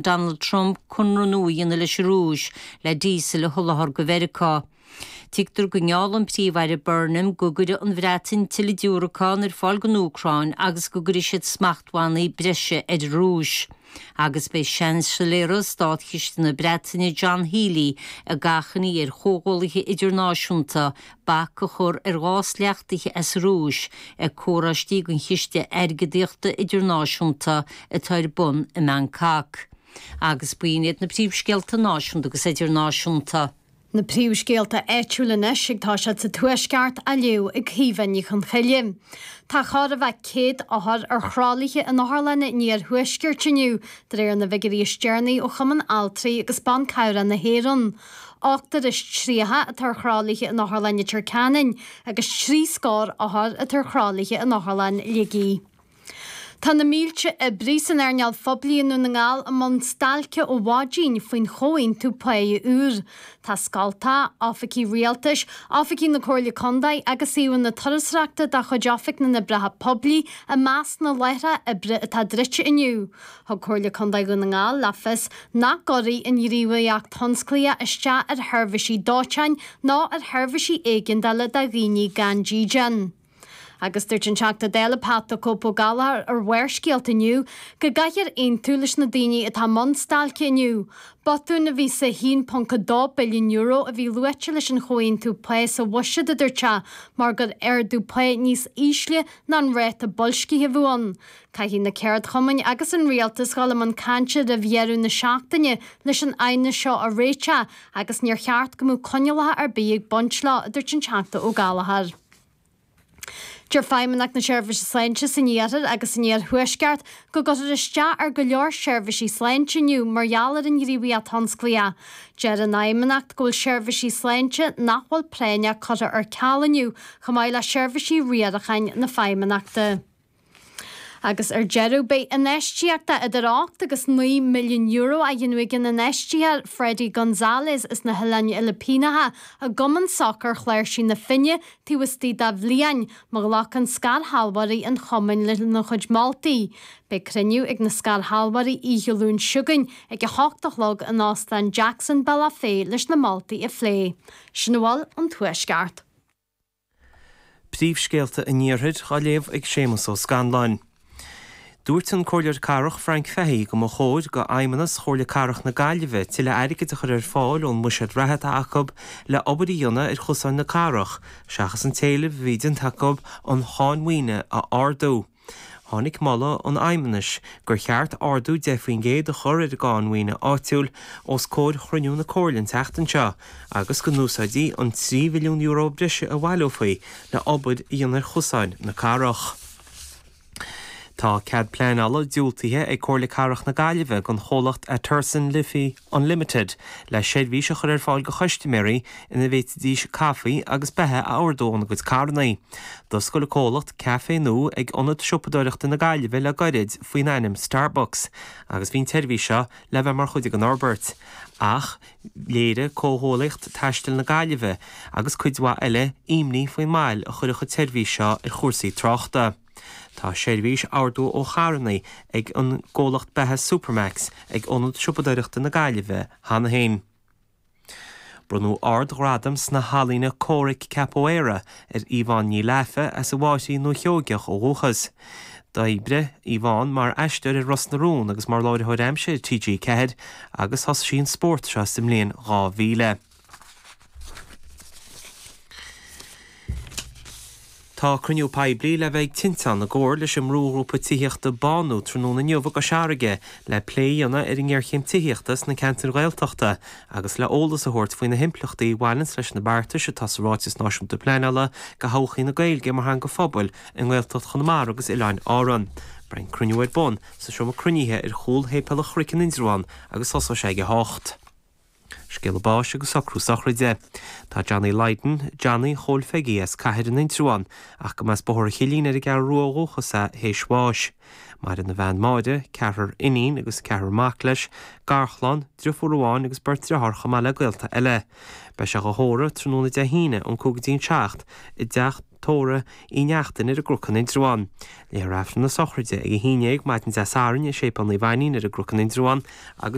Donald Trump conradh nua a dhéanamh leis an Rúis le díosal a sholáthar do Mheiriceá. Tuigtear go ngeall an Príomh-Aire Burnham go gcuirfidh an Bhreatain tuilleadh diúracán ar fáil don Úcráin agus go gcuirfidh siad smachtbhannaí breise ar an Rúis. Agus beidh Seansailéara Státchiste na Breataine John Healey ag achainí ar chomhghuallaithe idirnáisiúnta bac a chur ar ghás leachtaithe as an Rúis ag comhthráistí den Chiste Airgeadaíochta Idirnáisiúnta atá ar bun i mBangkok. Agus b'in iad na príomhscéalta náisiúnta agus idirnáisiúnta. Na príomhscéalta áitiúla anois ag toiseacht sa Tuaisceart á léamh ag Caoimhe Ní Chonchoille. Tá chóir a bheith 100 othar ar thralaithe in otharlanna an iarthuaiscirt inniu, de réir na bhfigiúirí is deireanaí ó Chumann Altraí agus Ban Cabhrach na hÉireann. 38 atá ar thralaithe in Otharlann Leitir Ceanainn agus trí scór othar atá ar thralaithe in Otharlann Shligigh. Tá na mílte oibrí san earnáil phoiblí i nDún na nGall i mbun stailce ó mhaidin faoin chomhaontú páí úr. Tá scoltacha, oifigí rialtais, oifigí na Comhairle Contae agus suíomhanna turasóireachta de chuid Oifig na nOibreacha Poiblí i measc na láithreacha oibre atá druidte inniu. Thug Comhairle Contae Dhún na nGall le fios nach gcuirfidh an ghníomhaíocht thionsclaíoch isteach ar sheirbhísí dóiteáin ná ar sheirbhísí éigeandála do dhaoine gan dídean. Agus dúirt an Teachta Dála Pat 'The Cope' Ó Gallchóir ar Bharrscéalta inniu go gcaithfear aontú leis na daoine atá i mbun stailce inniu. Botún a bhí sa €1.2 billiún a bhí luaite leis an chomhaontú pá sa bhuiséad, a dúirt sé, mar gur ardú pá níos ísle ná an ráta boilscithe a bheadh ann. Caithfidh na ceardchumainn agus an rialtas dhul i mbun cainte roimh dheireadh na seachtaine leis an aighneas seo a réiteach agus níor cheart go mbeadh coinníollacha ar bith ag baint leo, a dúirt an Teachta Ó Gallchóir. Deir Feidhmeannacht na Seirbhíse Sláinte san Iarthar agus san Iarthuaisceart go gcuirfear isteach ar go leor seirbhísí sláinte inniu mar gheall ar an ghníomhaíocht thionsclaíoch. Deir an Fheidhmeannacht go bhfuil seirbhísí sláinte nach bhfuil práinneach curtha ar ceal inniu chomh maith le seirbhísí riaracháin na Feidhmeannachta. Agus ar deireadh, beidh infheistíocht de idir €8 agus €9 milliún á dhéanamh ag an infheisteoir Fredy Gonzalez as na hOileáin Fhilipíneacha i gCumann Sacair Chláirsigh na Finne taobh istigh de bhliain, má ghlacann scairshealbhóirí an chumainn lena chuid moltaí. Beidh cruinniú ag na scairshealbhóirí oíche Luain seo chugainn ag 8 a chlog in Óstán Jackson, Bealach Féich leis na moltaí a phlé. Sin a bhfuil ón Tuaisceart. Príomhscéalta an Iarthair á léamh ag Séamus Ó Scanláin. Dúirt an Comhairleoir Cathrach Frank Fahey go mba chóir do Fheidhmeannas Chomhairle Cathrach na Gaillimhe tuilleadh airgid a chur ar fáil ón mbuiséad reatha atá acu le obair a dhéanamh ar chosáin na cathrach seachas an t-éileamh a bhí déanta acu an cháin mhaoine a ardú. Tháinig moladh an Fheidhmeannais gur cheart ardú 10% a chur ar an gcáin mhaoine áitiúil os comhair chruinniú na Comhairle an tseachtain seo agus go n-úsáidfí an €3 mhilliún breise a bhaileofaí le obair a dhéanamh ar chosáin na cathrach. Tá cead pleanála diúltaithe ag Comhairle Cathrach na Gaillimhe don chomhlacht Aterson Liffey Unlimited le seirbhís a chur ar fáil do chustaiméirí ina bhféadfaidís caife agus beatha a ordú óna gcuid carranna. D'oscail an comhlacht caifé nua ag Ionad Siopadóireachta na Gaillimhe le gairid faoin ainm Starbucks agus bhí an tseirbhís seo le bheith mar chuid den fhorbairt. Ach léirigh Comhghuaillíocht Taistil na Gaillimhe agus cuid mhaith eile imní faoin moill a chuirfeadh an tseirbhís seo ar chúrsaí tráchta. Tá seirbhís ordú ó charranna ag an gcomhlacht beatha Supermac's ag Ionad Siopadóireachta na Gaillimhe cheana féin. Bronnadh ard-ghradam sna healaíona comhraic Capoeira ar Yvonne Ní Laifhe as an bhFáirchín Dúiche Sheoigeach ó dhúchas. D'oibrigh Yvonne mar aisteoir ar Ros na Rún agus mar láithreoir aimsire ar TG4 agus thosaigh sí an spórt seo sa mbliain 2000. Tá cruinniú poiblí le bheith ag Tinteán i gcomhar leis an mbrúghrúpa tithíochta Bánú tráthnóna inniu i gCois Fharraige le plé a dhéanamh ar an ngéarchéim tithíochta sna ceantair Ghaeltachta agus le eolas a thabhairt faoi na himpleachtaí a bhaineanns leis na beartais atá sa Ráiteas Náisiúnta Pleanála do thodhchaí na Gaeilge mar theanga phobail i nGaeltacht Chonamara agus Oileáin Árann. Beidh an cruinniú ar bun sa seomra cruinnithe ar chúl Shéipéal an Chnoic in Indreabhán agus tosóidh sé ag 8. Scéala báis agus socrú sochraide. Tá Johnny Lydon, Johnny Chóil Pheigí as Cathair in Indreabhán, ach go mb'as Bóthar an Chillín ar an gCeathrú Rua ó dhúchas é, théis bháis. Maireann a bhean Máire, ceathrar iníon agus ceathrar mac leis, garchlann, driofúr amháin agus beirt driotháir chomh maith le gaolta eile. Beidh sé dhá thórramh tráthnóna Dé hAoine ón 5 go dtí an 7 i dteach. Tórramh Uí Neachtain ar an gCnoc in Indreabhán. Léifear Aifreann na sochraide ag 11 maidin Dé Sathairn i Séipéal Naomh Ainnín ar an gCnoc in Indreabhán agus.